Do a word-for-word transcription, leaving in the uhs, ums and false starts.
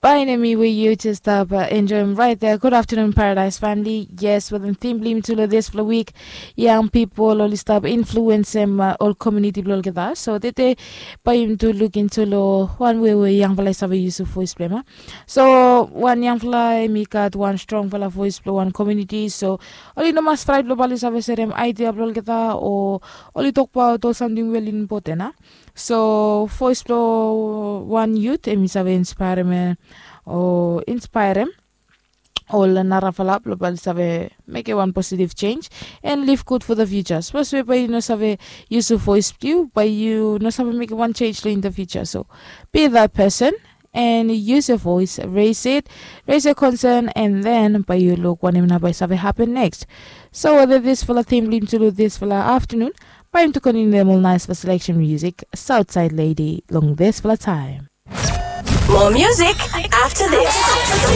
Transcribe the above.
Bae nem i we yu jes stap enjoem raet ya. Gud aftanun Paradaes famili. Yes, wetem tim blong yumi tu long disfala wik, yang pipol oli stap influensem ol komiuniti blong olgeta. So tede bae yumi tu lukim tu long wan wei we yangfala i save yusim voes blong hem. So wan yangfala hem i gat wan strongfala voes blong wan komiuniti, so oli no mas fraet blong bae oli save serem aedia blong olgeta o oli tokbaot ol samting we oli impoten a. So voes blong wan yut hem i save inspaerem o inspaerem ol narafala blong bae oli save mekem wan positiv jenj and liv gud fo the fiuja. Sapos we bae yu no save yusim voes blong yu, bae yu no save mekem wan jenj long in the fiuja. So be that person and use your voice, raise it, raise your concern, and then bae yu luk wanem nao bae i save happen next. So wetem disfala tim blong yumi tu long disfala aftanun, bae yumi tu kontiniuem ol naesfala selection music, Southside Lady, long disfala taem. More music after this.